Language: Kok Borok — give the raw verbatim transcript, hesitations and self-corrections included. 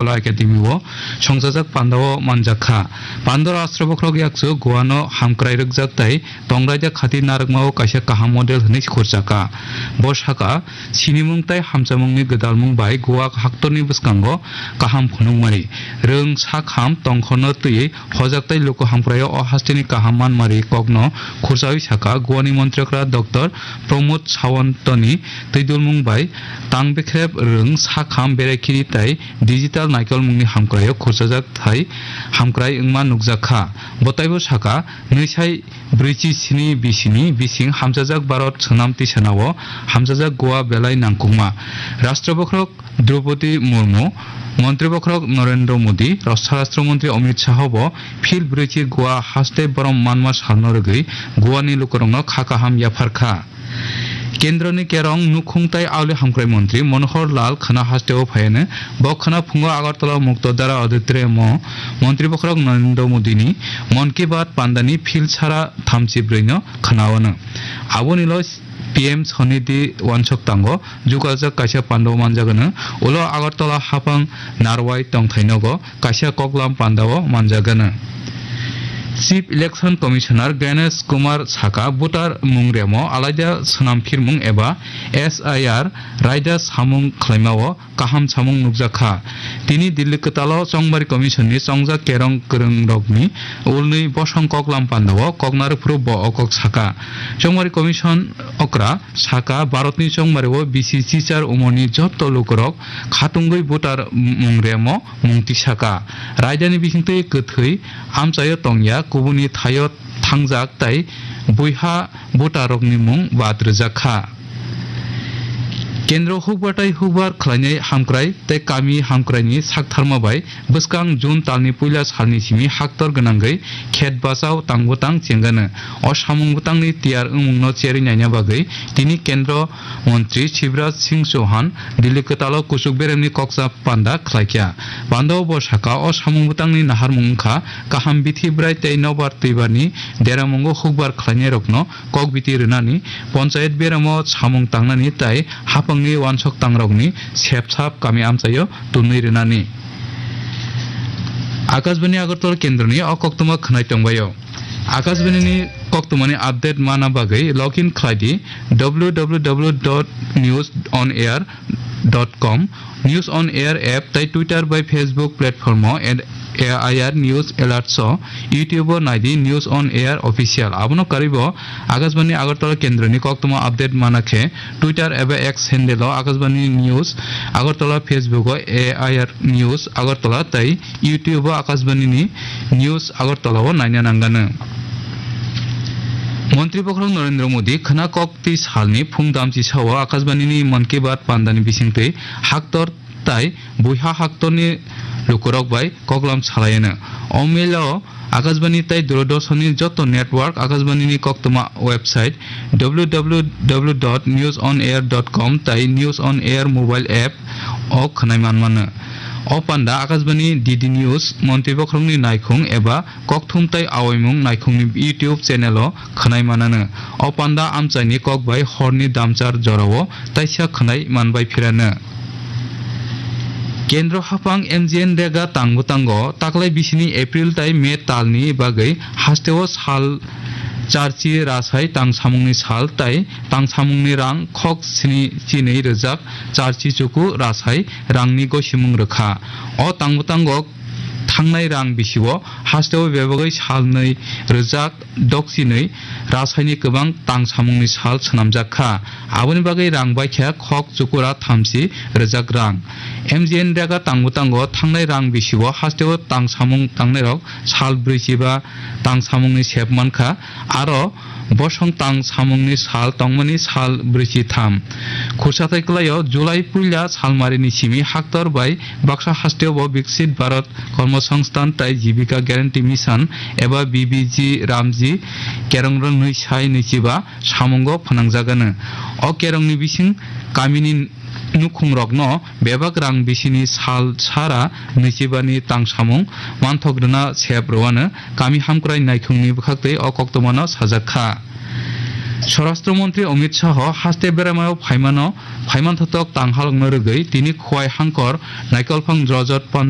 Kala Academy o songchajak pandao manjak kha. Pando Rashtra Bokhorok yakchu Goa no hamkrai rwkjak tai tongraida khati narwkma o kaisa kaham model hwnwi khurchakha. Bo sakha, sinimung tai hamchamungni gwdalmung bai Goa haktorni bwskango kaham phunukmani, rwng sakham tongkhorno twiwi hojak tai luku hamkraio o hasteni kaham manmari kokno khurchawi sakha. Goani Montri Okra Doctor Pramod Sawantoni twidulmung bai tang bekrep rwng sakham berai khiri tai digital naikolmungni hamkraio khurchajak thai hamkrai wngma nukjak kha. Bo taibo sakha, nwi sai brwichi sini bisini bising hamchajak Bharat Swnam Tisanao hamchajak Goa belai nangkukma. Rashtra Bokhorok Droupadi Murmu, Montri Bokhorok Narendra Modi, Swarashtra Montri Amit Shah bo Phil brwichi Goa haste borom manma salno rwgwi Goani lukurokno kha kaham yaphar kha. Kendroni Kerong, Nukhung tai Auli Hamkrai Montri Manohar Lal khwna hasteo phaiano. Bo khwna phungo Agartala Mukto Dara Auditorium o Montri Bokhorok Narendra Modini Mon Ki Baat pandani phil sara thamchi brwino khwnaono. Abonilo P M Swanidhi wansok tango jukajak kaisa pandao manjagano. Ulo Agartala hapang Narwai tongthai nogo kaisa koklam pandao manjagano. Chief Election Commissioner Ganesh Kumar saka voter mung remo alaida swnam phirmung eba S I R raida samung khlaimao kaham samung nukjak kha. Tini Delhi kwtalo Chongmari Commission ni chongjak kerong kwrwng rokni ulnwi bosong koklam pandao koknarwk phuru bo o kok saka. Chongmari Commission okra saka, Bharatni chongmario bisi chichar umorni jotto lukurok khatungwi voter mung remo mung tisaka. Raidani bisingtwi kwthwi amchaio tongya, kubuni thaio thangjak tai buiha voterrokni mung bad rwjak kha. Kendro hukbar tai hukbar khlainai hamkrai tei kami hamkraini saktharma bai bwskang June talni puila salni simi haktor gwnangwi khet bachao tang bwtang chengano. O samung bwtangni tiyar wngmungno cherwi naina bagwi tini Kendro Montri Shivraj Singh Chauhan Delhi kwtalo kuchuk beremni koksa panda khlaikha. Pandao bo saka, o samung bwtangni naharmung wngkha kaham bithi bwrai tei nobar twibarni deramungo hukbar khlainairokno kokbiti rwnani, ponchayat beramo samung tangnani tai haphangni wansok tangrokni sepsap kami amchaio tumwi rwnani. Akashbani Agartala kendroni o koktwma khwnai tongbaio. Akashbani ni koktwmani update mana bagwi login khlai di W W W dot news on air dot com, News on Air app tai Twitter bai Facebook platform o at A I R News Alerts o, YouTube o nai di News on Air Official. Abono karwi bo Akashbani Agartala kendroni koktwma update mana khe Twitter eba X handle o Akashbani News Agartala, Facebook o A I R News Agartala tai YouTube o Akashbani ni News Agartala o naina nanggano. Montri Bokhorok Narendra Modi khwna kok twi salni phung damchi sao Akashbani ni Mann Ki Baat pandani bisingtwi haktor tai buiha haktorni lukurok bai koklam salaiano. O mail o Akashbani tai Doordarshan ni joto network, Akashbani ni koktwma website W W W dot news on air dot com tai News on Air mobile app o khwnai manmano. O panda Akashbani D D News, Montri Bokhorokni naikhung eba kokthum tai awaimung naikhungni YouTube channel o khwnai manano. O panda amchaini kok bai horni damchar jorao taisa khwnai manbai phirano. Kendro haphang M G N Rega tang bwtango taklai bisini April tai May talni bagwi hasteo sal charchi rasai tang samungni sal tai tang samungni rang khok sini chinwi rwjak charchi chuku rasai rangni gosimung rwkha. O tang bwtango thangnai rang bisio hasteo bebagwi salnwi rwjak dokchinwi rasaini kwbang tang samungni sal swnamjak kha. Aboni bagwi rang baikha khok chukura thamchi rwjak rang. M G N Rega tang bwtango thangnai rang bisio hasteo tang samung tangnairok sal brwichi ba tang samungni sep mankha, aro bosong tang samungni sal tongmani sal brwichi tham. Khursathai kwlaio July puila salmarini simi haktor bai baksa hasteo bo Viksit Bharat Kormosongsthan tai Jibika Guarantee Mission eba B B G Ramji kerong rwngnwi sai nwichiba samungo phnangjagano. O kerongni bising kamini nukhungrokno bebak rang bisini sal sara nwichibani tang samung manthok rwna sep rwano kami hamkrai naikhungni bwkhaktwi o koktwmano sajak kha. Swarashtra Montri Amit Shah haste beraimao phaimano, phaiman thothok tang halokno rwgwi tini Khowai Hangkor Naikolphang Drojot Pan